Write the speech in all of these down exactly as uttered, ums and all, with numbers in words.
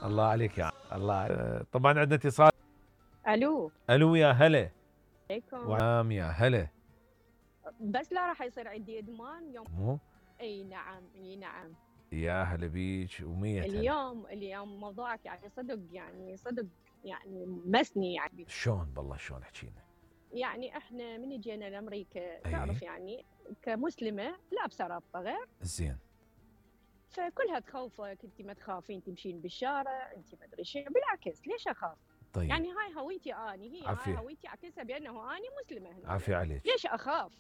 الله عليك يا عم. الله. طبعا عندنا اتصال. الو. الو يا هلا. عليكم. وعام يا هلا. بس لا راح يصير عندي ادمان يوم. مو؟ اي نعم اي نعم. يا هلا بيك ومية هلا. اليوم اليوم موضوعك يعني صدق يعني صدق يعني مسني يعني. شلون بالله شلون احكينا؟ يعني احنا من جينا لامريكا أي. تعرف يعني كمسلمه لابسه رابطه غير. زين. فكلها تخوفك، انت ما تخافين تمشين بالشارع، انت ما ادري شنو، بالعكس ليش اخاف؟ طيب. يعني هاي هويتي اني، هي عافية. هاي هويتي اعكسها بانه اني مسلمه هنا. عافية عليك. ليش اخاف؟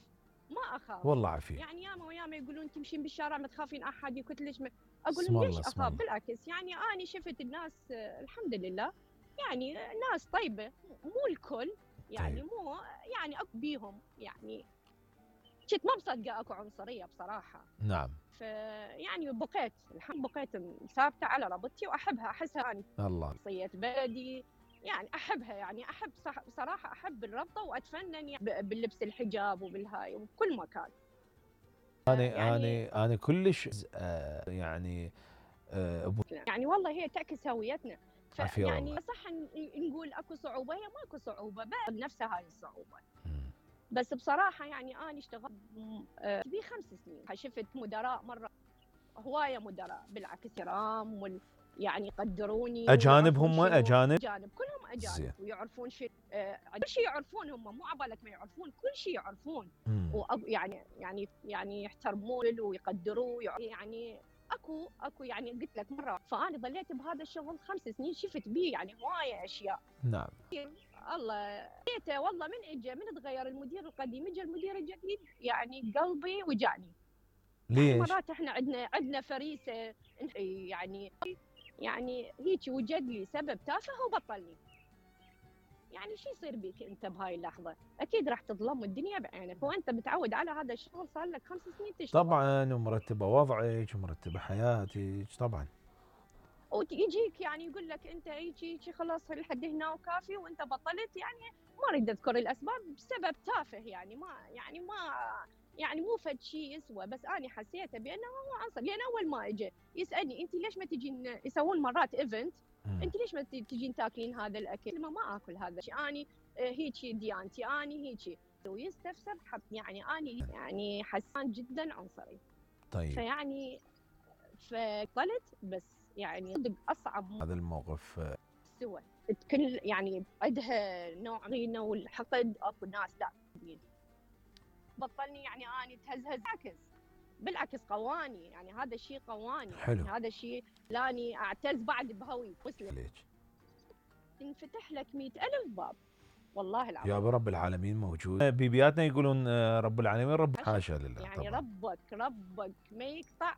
ما اخاف. والله عافية. يعني ياما وياما يقولون تمشين بالشارع ما تخافين احد يقتلش، ما اقول اسم لهم الله ليش اسم اخاف؟ الله. بالعكس يعني اني شفت الناس آه، الحمد لله يعني ناس طيبه، مو الكل يعني، طيب. مو يعني اكو بيهم يعني كنت ما مصدقه اكو عنصريه بصراحه. نعم. فيعني بقيت الحمد بقيت ثابته على ربطتي واحبها، احسها اني الله. شخصيه بلدي يعني احبها، يعني احب صح بصراحه احب الربطه واتفنن يعني ب- باللبس الحجاب وبالهاي وبكل مكان. انا يعني انا انا كلش آه يعني آه أبو. يعني والله هي تعكس هويتنا. عافية فيعني والله. صح ن- نقول اكو صعوبه، هي ماكو صعوبه بس نفسها هاي الصعوبه. مم. بس بصراحه يعني انا اشتغلت آه، بي خمس سنين، شفت مدراء مره هوايه مدراء بالعكس كرام وال يعني يقدروني اجانب ويعرفون هم شنو. اجانب؟ اجانب كلهم اجانب. زين. ويعرفون شيء آه كل شيء يعرفون، هم مو عبالك ما يعرفون، كل شيء يعرفون. مم. ويعني يعني يعني يحترمون ويقدروا يعني اكو اكو يعني قلت لك مره، فانا ظليت بهذا الشغل خمس سنين، شفت بيه يعني هوايه اشياء. نعم. الله جيته والله من اجى من تغير المدير القديم اجى المدير الجديد يعني قلبي وجعني. يعني ليش؟ مرات احنا عندنا عندنا فريسه يعني يعني هيك وجد لي سبب تافه وبطلني. يعني شو يصير بيك انت بهاي اللحظه؟ اكيد راح تظلم الدنيا بعينك، وانت متعود على هذا الشغل صار لك خمس سنين تشتغل. طبعا ومرتبه وضعك ومرتبه حياتك طبعا. ويجيك يعني يقول لك انت هيك هيك خلاص لحد هنا وكافي وانت بطلت، يعني ما اريد اذكر الاسباب بسبب تافه يعني ما يعني ما يعني مو فد شيء يسوى، بس انا حسيته بانه هو عنصر. لان اول ما اجى يسالني انت ليش ما تجين، يسوون مرات ايفنت، انت ليش ما تجين تاكلين هذا الاكل؟ ما ما اكل هذا الشيء، اني هيك ديانتي اني هيك. ويستفسر حب يعني اني يعني حسان جدا عنصري. طيب. فيعني فقلت بس يعني صدق اصعب هذا الموقف سوى كل يعني عندها نوع غينه والحقد. اكو ناس لا بطلني يعني اني تهزهز، بالعكس بالعكس قواني، يعني هذا الشيء قواني. حلو. يعني هذا الشيء لاني اعتز بعد بهويتي مسلم. ليش؟ ينفتح لك مئة ألف باب والله العظيم. يا رب العالمين موجود. بيبياتنا يقولون رب العالمين رب، حاشا لله يعني طبعا. ربك ربك ما يقطع